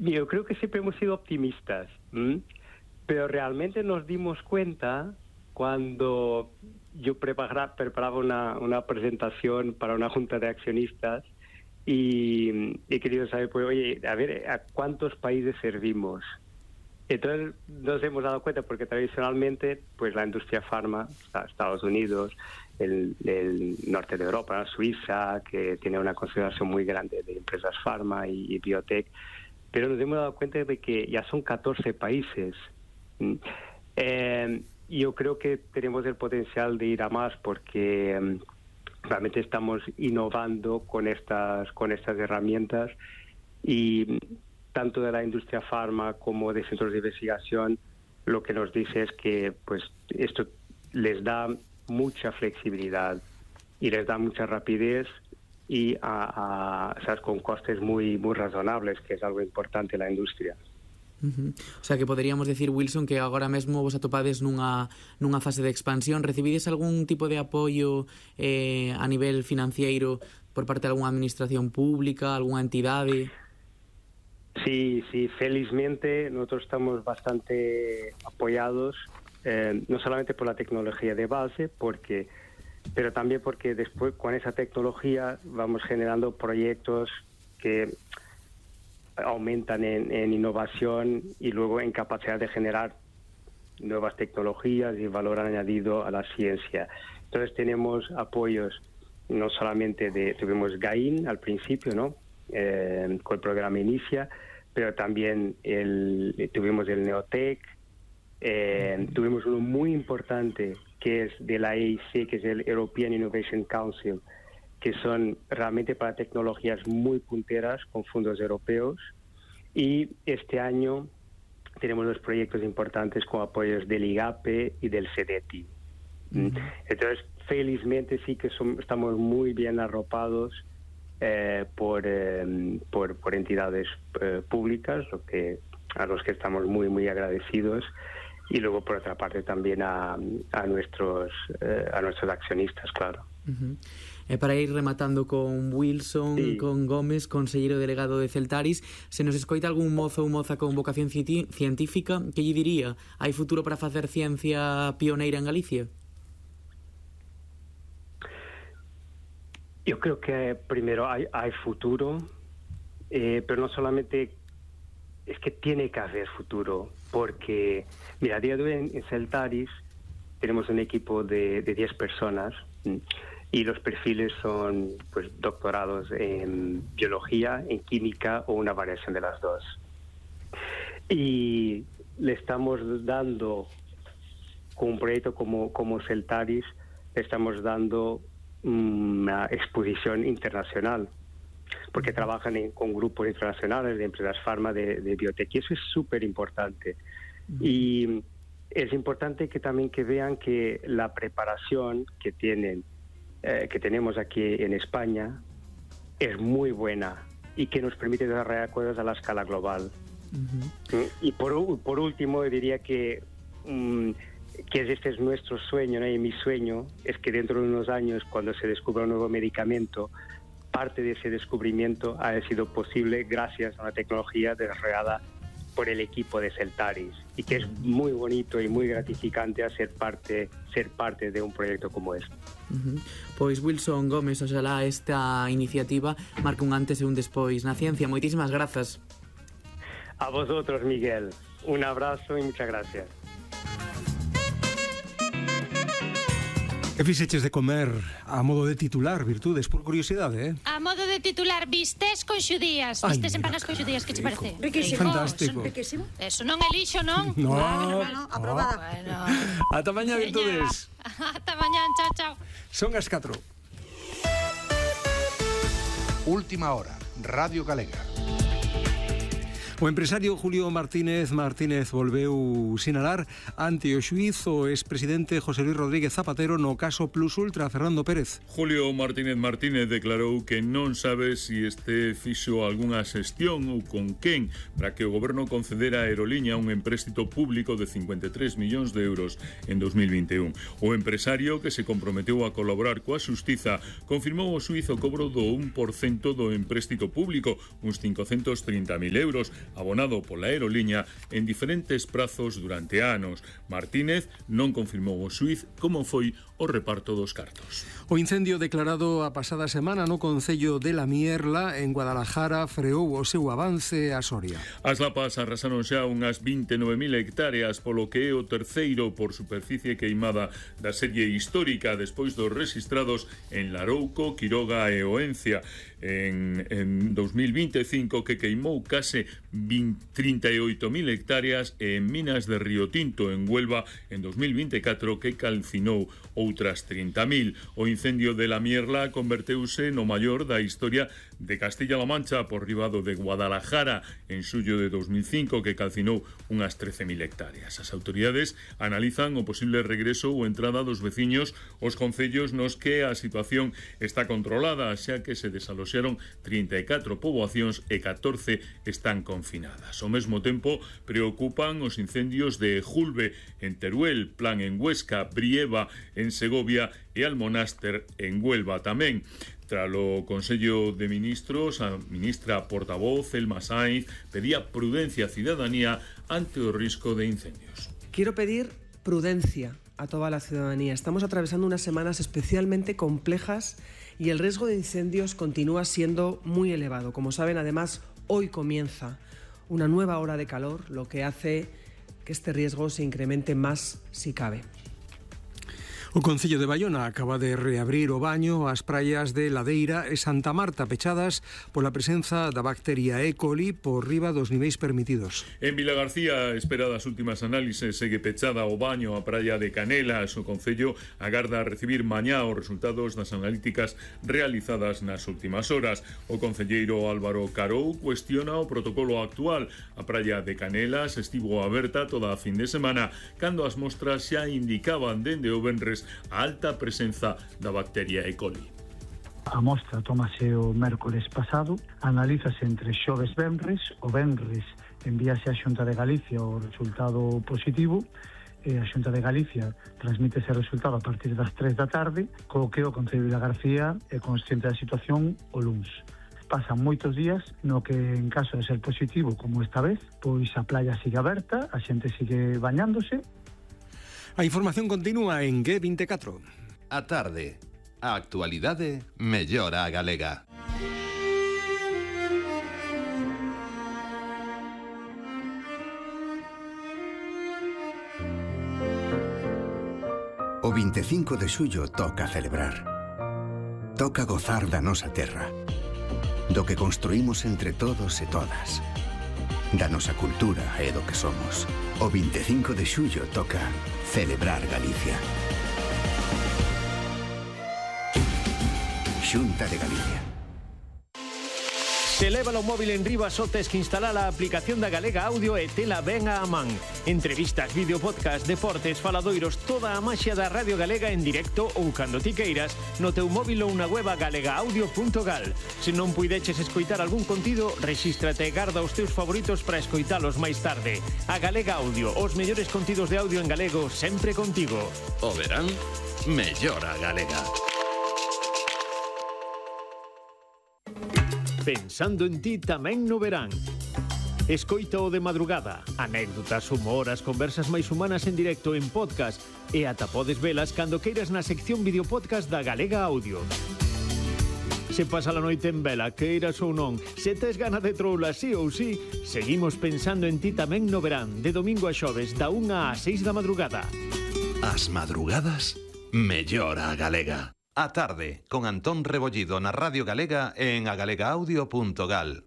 Yo creo que siempre hemos sido optimistas, pero realmente nos dimos cuenta cuando yo preparaba una presentación para una junta de accionistas y he querido saber, pues, oye, a ver, ¿a cuántos países servimos? Entonces nos hemos dado cuenta, porque tradicionalmente pues la industria farma, Estados Unidos, el norte de Europa, Suiza, que tiene una consideración muy grande de empresas farma y biotech, pero nos hemos dado cuenta de que ya son 14 países. Yo creo que tenemos el potencial de ir a más, porque realmente estamos innovando con estas herramientas, y tanto de la industria farma como de centros de investigación lo que nos dice es que pues esto les da mucha flexibilidad y les da mucha rapidez y ¿sabes? Con costes muy razonables, que es algo importante en la industria. O sea que poderíamos decir, Wilson, que agora mesmo vos atopades nunha fase de expansión. Recibides algún tipo de apoio a nivel financiero por parte de algunha administración pública, algunha entidade? Sí, felizmente nosotros estamos bastante apoyados, no solamente por la tecnología de base, pero también porque después con esa tecnología vamos generando proyectos que aumentan en innovación y luego en capacidad de generar nuevas tecnologías y valor añadido a la ciencia. Entonces tenemos apoyos no solamente tuvimos GAIN al principio, ¿no? Con el programa Inicia, pero también tuvimos el Neotec, tuvimos uno muy importante que es de la EIC, que es el European Innovation Council, que son realmente para tecnologías muy punteras con fondos europeos, y este año tenemos dos proyectos importantes con apoyos del IGAPE y del CDTI. Entonces, felizmente sí que estamos muy bien arropados por entidades públicas, a los que estamos muy agradecidos, y luego por otra parte también a nuestros accionistas, claro. Para ir rematando con Wilson, sí, con Gómez, conselleiro delegado de Celtaris, se nos escoita algún mozo ou moza con vocación científica, que lle diría? Hai futuro para facer ciencia pioneira en Galicia? Yo creo que primero hay futuro, pero no solamente es que tiene que haber futuro, porque mira, a día de hoy en Celtaris tenemos un equipo de 10 personas y los perfiles son pues doctorados en biología, en química o una variación de las dos. Y le estamos dando, con un proyecto como Celtaris, le estamos dando una exposición internacional, porque trabajan con grupos internacionales de empresas farma, de biotech, y eso es súper importante. Y es importante que también que vean que la preparación que tenemos aquí en España es muy buena y que nos permite desarrollar cosas a la escala global. Y por último diría que este es nuestro sueño, ¿no? Y mi sueño es que dentro de unos años, cuando se descubra un nuevo medicamento, parte de ese descubrimiento ha sido posible gracias a una tecnología desarrollada por el equipo de Celtaris, y que es muy bonito y muy gratificante ser parte de un proyecto como este. Pois Wilson Gómez, oxalá esta iniciativa marca un antes e un despois na ciencia. Moitísimas grazas. A vosotros, Miguel, un abrazo y muchas gracias. Que fixeches de comer a modo de titular, Virtudes, por curiosidade, A modo de titular, vistes con xudías. Vistes empanas con xudías, que che parece? Riquísimo. Fantástico. Riquísimo. Eso non é lixo, non? No, aprobada. Bueno. Ata mañá, Virtudes. Ata mañá, chao. Son as 4. Última hora, Radio Galega. O empresario Julio Martínez volveu sinalar ante o xuíz o expresidente José Luis Rodríguez Zapatero no caso Plus Ultra. Fernando Pérez. Julio Martínez declarou que non sabe se este fixo algunha xestión ou con quen para que o goberno concedera a Aeroliña un empréstito público de 53 millóns de euros en 2021. O empresario, que se comprometeu a colaborar coa xustiza, confirmou o xuízo cobro do 1% do empréstito público, uns 530.000 euros, abonado pola aeroliña en diferentes prazos durante anos. Martínez non confirmou o xuíz como foi o reparto dos cartos. O incendio declarado a pasada semana no concello de La Mierla, en Guadalajara, freou o seu avance a Soria. As lapas arrasaron xa unhas 29.000 hectáreas, polo que é o terceiro por superficie queimada da serie histórica despois dos registrados en Larouco, Quiroga e Oencia. En 2025 que queimou case 38.000 hectáreas e en Minas de Río Tinto, en Huelva, en 2024 que calcinou outras 30.000. O incendio de La Mierla converteuse no maior da historia de Castilla-La Mancha por riba do de Guadalajara en xullo de 2005 que calcinou unhas 13.000 hectáreas. As autoridades analizan o posible regreso ou entrada dos veciños aos concellos nos que a situación está controlada, xa que se desaloxaron 34 poboacións e 14 están confinadas. Ao mesmo tempo, preocupan os incendios de Julbe en Teruel, Plan en Huesca, Brieva en Segovia e Almonáster en Huelva tamén. Tralo Consello de Ministros, a ministra portavoz, Elma Sainz, pedía prudencia a ciudadanía ante o risco de incendios. Quiero pedir prudencia a toda la ciudadanía. Estamos atravesando unas semanas especialmente complejas y el riesgo de incendios continúa siendo muy elevado. Como saben, además, hoy comienza una nueva ola de calor, lo que hace que este riesgo se incremente más si cabe. O Concello de Baiona acaba de reabrir o baño ás praias de Ladeira e Santa Marta pechadas pola presenza da bacteria E. coli por riba dos niveis permitidos. En Vilagarcía, espera das últimas análises, segue pechada o baño a praia de Canelas. O Concello agarda a recibir mañá os resultados das analíticas realizadas nas últimas horas. O concelleiro Álvaro Carou cuestiona o protocolo actual. A praia de Canelas estivo aberta toda a fin de semana cando as mostras xa indicaban dende o venres a alta presenza da bacteria E. coli. A mostra tómase o mércores pasado, analízase entre xoves e venres, o venres envíase á Xunta de Galicia o resultado positivo e a Xunta de Galicia transmite ese resultado a partir das 3 da tarde, co que o Concello de Vilagarcía é consciente da situación o luns. Pasan moitos días no que, en caso de ser positivo como esta vez, pois a playa sigue aberta, a xente sigue bañándose. A información continúa en G24. A tarde, a actualidade mellora a galega. O 25 de xullo toca celebrar. Toca gozar da nosa terra, do que construímos entre todos e todas, da nosa cultura e do que somos. O 25 de xullo toca celebrar Galicia. Xunta de Galicia. Se leva o móvil en riba só tes que instalar a aplicación da Galega Audio e tela ben a man. Entrevistas, vídeo, podcast, deportes, faladoiros, toda a maxia da Radio Galega en directo ou cando ti queiras no teu móvil ou na web galegaaudio.gal. Se non puideches escoitar algún contido, rexístrate e garda os teus favoritos para escoitalos máis tarde. A Galega Audio, os mellores contidos de audio en galego sempre contigo. O verán, mellora a galega. Pensando en ti tamén no verán. Escoita o de madrugada, anécdotas, humor, as conversas máis humanas en directo en podcast e ata podes velas cando queiras na sección videopodcast da Galega Audio. Se pasa a noite en vela, queiras ou non, se tes gana de troula sí ou sí, seguimos pensando en ti tamén no verán, de domingo a xoves, da 1 á 6 da madrugada. As madrugadas, mellora a galega. A tarde, con Antón Rebollido na Radio Galega e en agalegaudio.gal.